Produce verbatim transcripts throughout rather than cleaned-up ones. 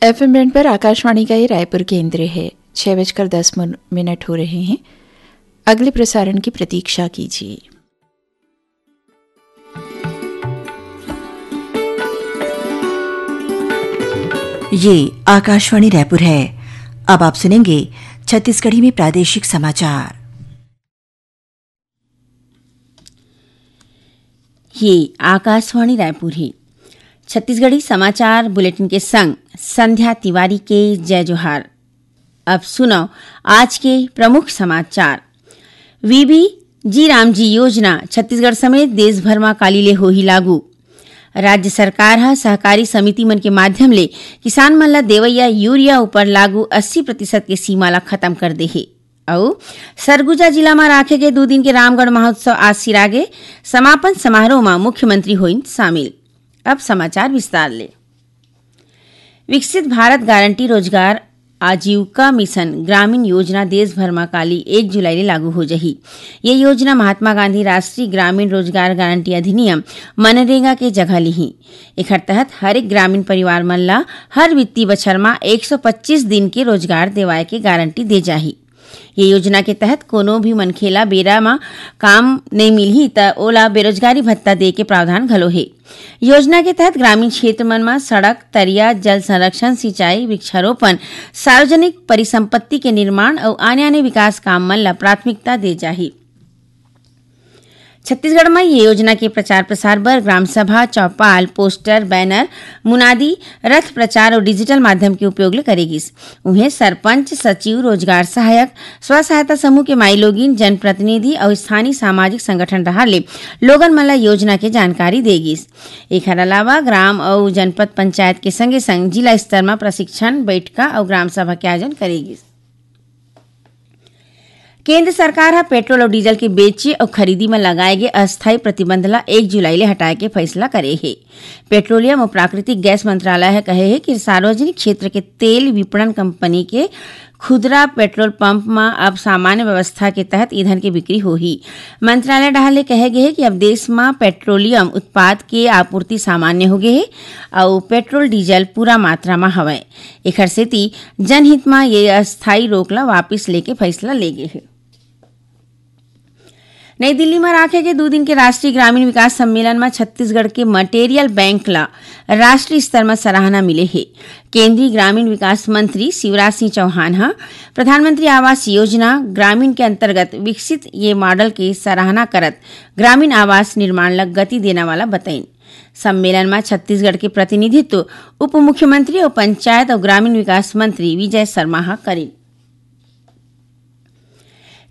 FM band पर आकाशवाणी का ये रायपुर केंद्र है। छह बजकर दस मिन-, मिनट हो रहे हैं। अगले प्रसारण की प्रतीक्षा कीजिए। ये आकाशवाणी रायपुर है। अब आप सुनेंगे छत्तीसगढ़ी में प्रादेशिक समाचार। ये आकाशवाणी रायपुर है। छत्तीसगढ़ी समाचार बुलेटिन के संग संध्या तिवारी के जय जोहार। अब सुनव आज के प्रमुख समाचार। वीबी जी राम जी योजना छत्तीसगढ़ समेत देश भर म काली ले होही लागू। राज्य सरकार ह सहकारी समिति मन के माध्यम ले किसान मन ल देवइया यूरिया ऊपर लागू अस्सी प्रतिशत के सीमा ल खत्म कर दे हे। अउ सरगुजा जिला म राखे गे दू दिन के रामगढ़ महोत्सव आज सिरागे। समापन समारोह म मुख्यमंत्री होइन शामिल। अब समाचार विस्तार ले। विकसित भारत गारंटी रोजगार आजीविका मिशन ग्रामीण योजना देश भर म काली एक जुलाई ले लागू हो जही। ये योजना महात्मा गांधी राष्ट्रीय ग्रामीण रोजगार गारंटी अधिनियम, मनरेगा के जगह लिही। एखर तहत हर एक ग्रामीण परिवार मन ला हर वित्तीय बछर म एक सौ पच्चीस दिन के रोजगार देवाए के गारंटी दे जाही। ये योजना के तहत कोनो भी मनखे ला बेरा म काम नइ मिलही, त ओला बेरोजगारी भत्ता दे के प्रावधान घलो हे। योजना के तहत ग्रामीण क्षेत्र मन म सड़क, तरिया, जल संरक्षण, सिंचाई, वृक्षारोपण, सार्वजनिक परिसंपत्ति के निर्माण अउ आने-आने विकास काम मन ला प्राथमिकता दे जाही। छत्तीसगढ़ म ये योजना के प्रचार प्रसार बर ग्राम सभा, चौपाल, पोस्टर, बैनर, मुनादी, रथ प्रचार अउ डिजिटल माध्यम के उपयोग ले करे गिस। उहें, सरपंच, सचिव, रोजगार सहायक, स्व सहायता समूह के माईलोगिन, जनप्रतिनिधि अउ स्थानीय सामाजिक संगठन डहार ले लोगन मन ल योजना के जानकारी दे गिस। एखर अलावा ग्राम अउ जनपद पंचायत के संगे संग जिला स्तर म प्रशिक्षण, बैठका अउ ग्राम सभा के आयोजन करे गिस। केंद्र सरकार ह पेट्रोल अउ डीजल के बेचे अउ खरीदी म लगाए गे अस्थायी प्रतिबंध ल एक जुलाई ले हटाए के फैसला करे हे। पेट्रोलियम अउ प्राकृतिक गैस मंत्रालय ह कहे हे कि सार्वजनिक क्षेत्र के तेल विपणन कंपनी के खुदरा पेट्रोल पंप म अब सामान्य व्यवस्था के तहत ईंधन के बिक्री होही। मंत्रालय डहार ले कहे गे हे कि अब देश म पेट्रोलियम उत्पाद के आपूर्ति सामान्य हो गे हे अउ पेट्रोल डीजल पूरा मात्रा म हवय। एखर सेती जनहित म ये अस्थायी रोक ल वापिस लेके फैसला ले गे हे। नई दिल्ली म राखे गे दू दिन के राष्ट्रीय ग्रामीण विकास सम्मेलन म छत्तीसगढ़ के मटेरियल बैंक ल राष्ट्रीय स्तर म सराहना मिले हे। केंद्रीय ग्रामीण विकास मंत्री शिवराज सिंह चौहान ह प्रधानमंत्री आवास योजना ग्रामीण के अंतर्गत विकसित ये मॉडल के सराहना करत ग्रामीण आवास निर्माण ल गति देना वाला बतइन। सम्मेलन म छत्तीसगढ़ के प्रतिनिधित्व उप मुख्यमंत्री अउ पंचायत अउ ग्रामीण विकास मंत्री विजय शर्मा ह करिन।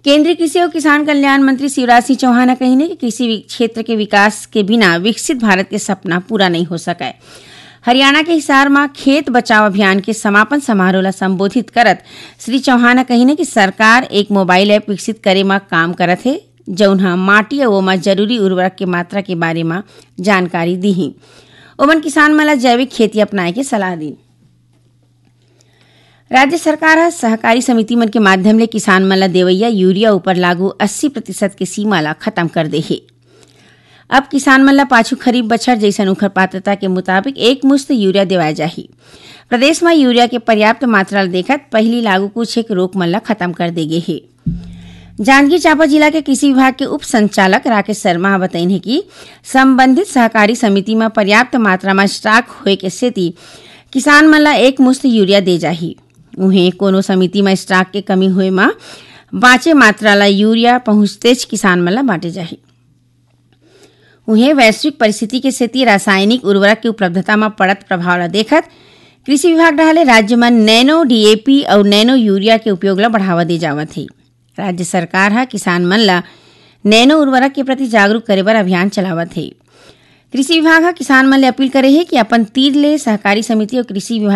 केंद्रीय कृषि अउ किसान कल्याण मंत्री शिवराज सिंह चौहान ह कहिन हे कि कृषि वि-, क्षेत्र के विकास के बिना विकसित भारत के सपना पूरा नइ हो सकय। हरियाणा के हिसार म खेत बचाओ अभियान के समापन समारोह ल संबोधित करत श्री चौहान ह कहिन हे कि सरकार एक मोबाइल ऐप विकसित करे म काम करत हे, जउन ह माटी अउ ओमा जरूरी उर्वरक के मात्रा के बारे म जानकारी दिही। ओमन किसान मन ल जैविक खेती अपनाए के सलाह दीन। राज्य सरकार ह सहकारी समिति मन के माध्यम ले किसान मन ल देवइया यूरिया ऊपर लागू अस्सी प्रतिशत के सीमा ल खत्म कर दे हे। अब किसान मन ल पाछू खरीफ बछर जइसन उखर पात्रता के मुताबिक एक मुश्त यूरिया देवाय जाही। प्रदेश म यूरिया के पर्याप्त मात्रा ल देखत पहिली लागू कुछ एक रोक मन ल खत्म कर दे गे हे। जांजगीर चांपा जिला के कृषि विभाग के उप संचालक राकेश शर्मा ह बतइन हे कि संबंधित सहकारी समिति म पर्याप्त मात्रा म स्टॉक होए के सेती किसान मन ल एक मुश्त यूरिया दे जाही। उहें, कोनो समिति म स्टॉक के कमी होए म बांचे मात्रा ल यूरिया पहुंचतेच किसान मन ल बांटे जाही। उहें, वैश्विक परिस्थिति के सेती रासायनिक उर्वरक के उपलब्धता म पड़त प्रभाव ल देखत कृषि विभाग डहार ले राज्य म नैनो डीएपी अउ नैनो यूरिया के उपयोग ल बढ़ावा दे जावत हे। राज्य सरकार ह किसान मन ल नैनो उर्वरक के प्रति जागरूक करे बर अभियान चलावत हे। कृषि विभाग ह किसान मन ले अपील करे हे कि अपन तीर ले सहकारी समिति अउ कृषि विभाग